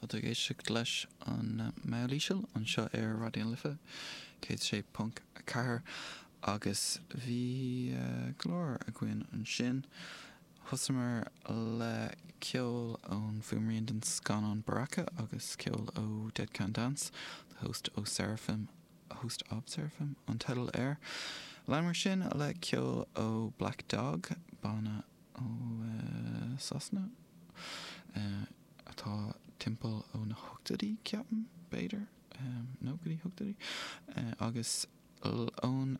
Tá tú ag éisteacht leis an Meall Íseal anseo ar Raidió na Life 106.4 agus bhí go leor againn ansin. Thosaíomar le ceol ón bhfuaimrian den scannán Baraka agus ceol ó Dead Can Dance, The Host O Seraphim, Host of Seraphim an teideal air. Leanamar sin le ceol ó Black Dog, banna ó Sasana atá timpeall ó na hochtóidí, ceapaim, b'fhéidir, nó go dtí hochtóidí, agus ón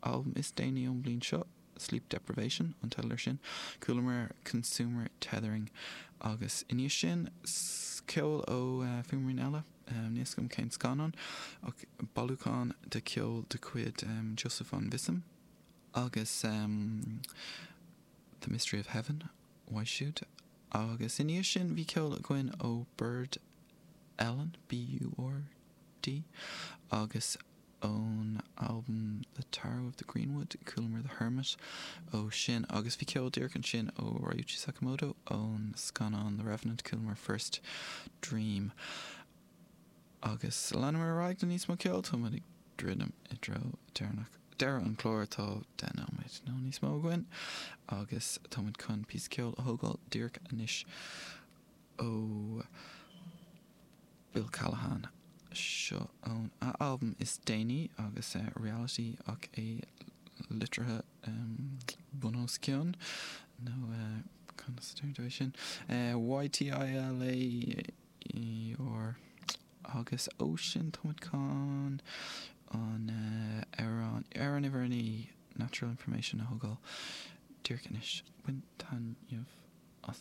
albam is déanaí ón bhliain seo, Sleep Deprivation an teideal air sin, chualamar Consumer Tethering agus i ndiaidh sin ceol ó fuaimrian eile, níl 'fhios agam cén scannán, ach bailiúchán de cheol de chuid Joseph von Wissem agus The Mystery of Heaven uaidh siúd. Agus i ndiaidh sin bhí ceol againn ó Burd Ellen, B-U-R-D, agus ón albam The Tarot of the Greenwood, chualamar The Hermit ó sin agus bhí ceol díreach ansin ó Ryuichi Sakamoto ón scannán The Revenant, chualamar First Dream. Agus leanamar ar aghaidh le níos mó ceoil, tá muid ag druidim i dtreo deireanach deireadh an chláir, tá 10 nóiméad nó níos mó againn agus tá muid chun píosa ceoil a thógáil díreach anois ó Bill Callahan. Seo ón a albam is déanaí agus Reality ach é litrithe bun os cionn nó conas a deir tú é sin? YTILA ER Agus ó sin tá muid chun an amhrán, amhrán uimhir 9, Natural Information a thógáil díreach anois. Bain taitneamh as.